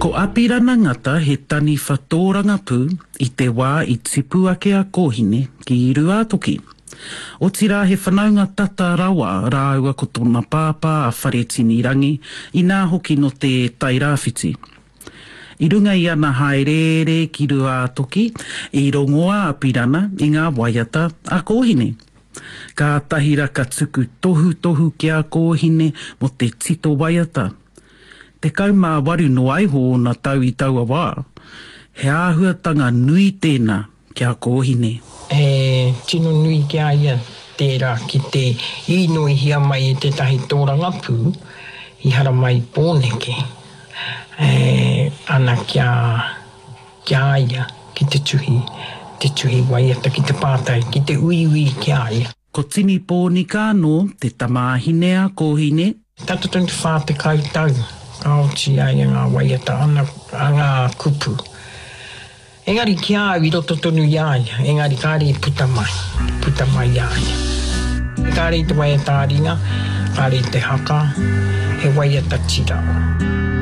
Ko Apirana Ngata he taniwha tōrangapū i te wā i tipu ake a Kōhine ki Rūātoki. Otirā he whanaunga tata rawa rāua ko tōna pāpā a Wharetini Rangi, inā hoki nō te Tairāwhiti. I runga i ana hāereere ki Rūātoki, i rongo a Apirana i ngā waiata a Kōhine. Kātahi ra ka tuku tohutohu ki a Kōhine mō te tito waiata. 18 noa iho ōna tau i taua wā. He āhuatanga nui tēnā ki a Kōhine. He tino nui ki a ia tērā ki te īnoihia mai e tētahi tōrangapū i haramai i Pōneke e ana ki a ki a ia ki te tuhi, te tuhi waiata, ki te pātai, ki te uiui ki a ia. Ko Tini Pōnika anō te tamāhine a Kōhine. Tata tonu te 40 tau ka oti i a ia ngā waiata ana, ngā kupu. Engari ki a au i roto tonu i a ia, engari kāre i puta mai, puta mai i a ia. Kāre i te waiata ā-ringa, kāre i te haka, he waiata tira.